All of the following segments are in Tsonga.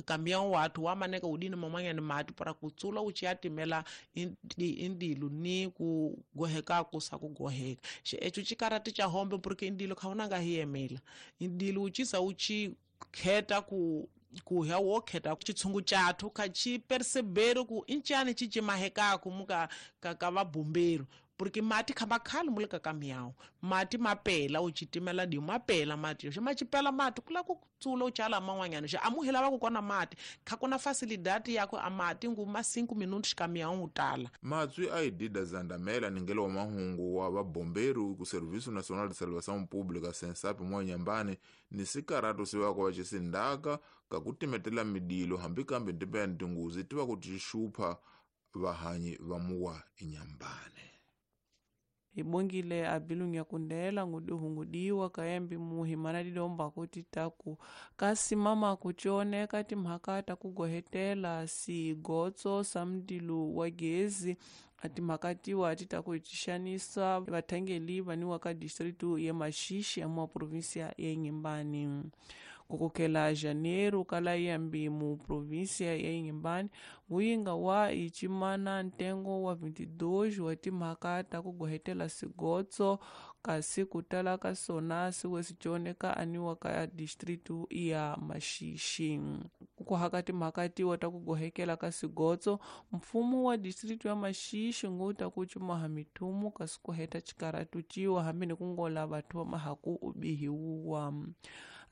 caminhão watu wamaneka udini mamanya mati para kutsula uchiatimela indilu ni kugoheka kusa kugoheka echu chikarati cha hombe porque indilo khaona nga hiyemela indilu uchisa uchi kheta ku kuhya wokheta chitshungu chathu kha chi percebero ku inchani chichimahekaku muka ka vabombeiro porque mati khamakhali muleka caminhão mati mapela uchitimela di mapela mati xo machipela mati kula ku tsula uchala man'wanyana xo amuhela va ku kona mati kha kuna facilidade yako amati nguma 5 minutos caminhão utala matswi a idida zandamela ningelo wa mahungu wa vabombeiro ku Serviço Nacional de Salvação Pública SENSAP mwa Nyambane ni sikaratu siwako va xisindaka ka ku timetela midilo hambi kambe ndipeni tinguzi tiva ku tixupha vahanyi va muwa eNyambane. Ibongile abilunya kundela ngudiwa kayembi muhi mana didomba kuti taku kasi mama kuchioneka timhaka takugohetela sigotso samdilu wa gezi atimhakatiwa atitakuitishanisa vathangeli vaniwa ka distritu ya Maxixe ya província ya Inhambane. Kukokela janeiro kala yambi mu província ya Inhambane nguyinga wa ichimana ntengo wa 22 wa timhaka takugohetela sigotso kasi kutala ka sona siwe sichioneka aniwa ka distritu ya Maxixe. Kuhaka timhakatiwa takugohekela ka sigotso mfumo wa distritu ya Maxixe nguta kuchumaha mithumu kasi kuheta chikaratu chiwa hambi ni kungola vathu va mahaku ubihiwa.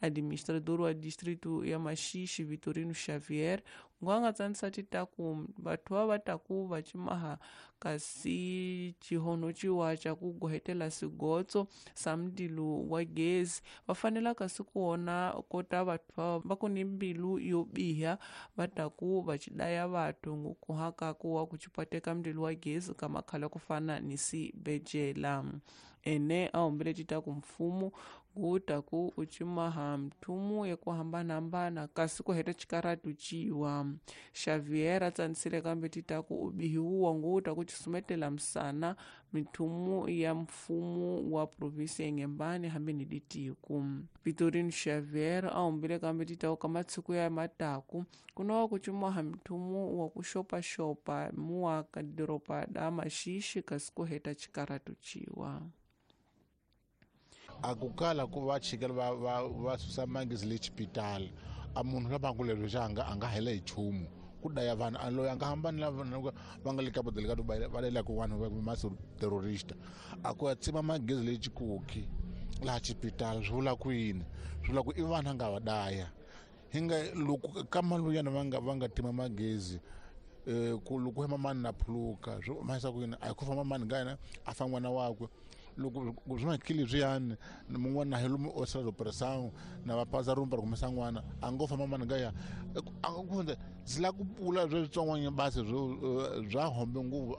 Administrador wa distrito ya Maxixe Vitorino Xavier ngwanga tsanisa titaku vathu va taku va chimaha kasi chihono chiwa cha kugohetela sigotso samdilu wa gezi va fanela kasi kuona kota vathu va ku ni mbilu yo biha va taku va chidaya vathu ngukuhaka kuwa kuchipateka mdilu wa gezi ka makhala kufana ni sibejela. Ene aombele titaku mfumo ngutaku uchimaha mthumu ya kuhambanahambana kasi kuheta chikaratu chiwa. Xavier atsanisile kambe titaku ubihiwa ngutaku chisumetela msana mithumu ya mfumo wa província ya Inhambane hambi ni ditiku. Vitorino Xavier aombele kambe titaku ka matshiku ya mataku kunowa kuchimaha mthumu wa kuxopaxopa muwa ka doropa da Maxixe kasi kuheta chikaratu chiwa. Akukala ku va chikela va susa magezi le xipitali a munhu la va ku lero xa a nga hela hi nchumu ku daya vanhu a loyi a nga hambani lava va nga le ka bodele ka va lelaka vanhu va maso terrorista a ku ya tsima magezi le Chikoki laha xipitali swi vula ku yini swi vula ku i vanhu a nga va daya hi nga loko ka maluyana va nga tima magezi ku loko hema mani na phuluka swi mahisa ku yini a hi ku famba mani nga yena a fa n'wana wakwe loko swi makili swiyani mun'wana hi lomu osala operation na va paza rumba ra kumesa n'wana a ngo famba mani nga ya a ku ndzi la ku pula switsongwana basi bya hombe nguvu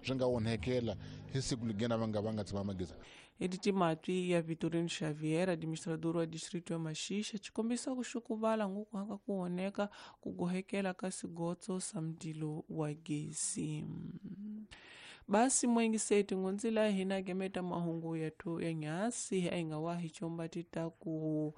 swi nga onhekela hi siku ligena va nga tsima magezi. Editi matwi ya Vitorino Xavier, administrador wa distrito ya Maxixe, chikombisa kuxukuvala ngukuhaka kuoneka kugohekela ka sigotso sa mdilo wa gezi. Basi mwengiseti ngunzila hina gemeta mahungu yetu ya nyasi aingawahi chomba titaku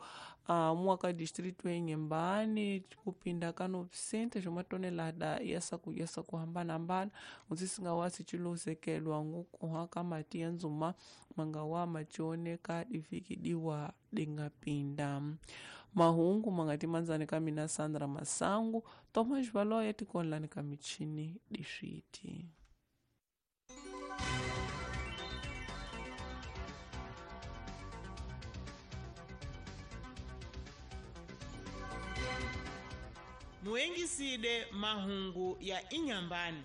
mwaka distrito ya Inhambane kupinda kano sente jomatonelada yasa kuhambana ngunzisinga chilozekelwa ngukuhaka mati ya nzuma mangawa machioneka divikidiwa dingapinda. Mahungu mangati manzani kamina Sandra Masangu Thomas Valoya tikonlani kamichini dishiti. Muengiside mahungu ya Inhambane.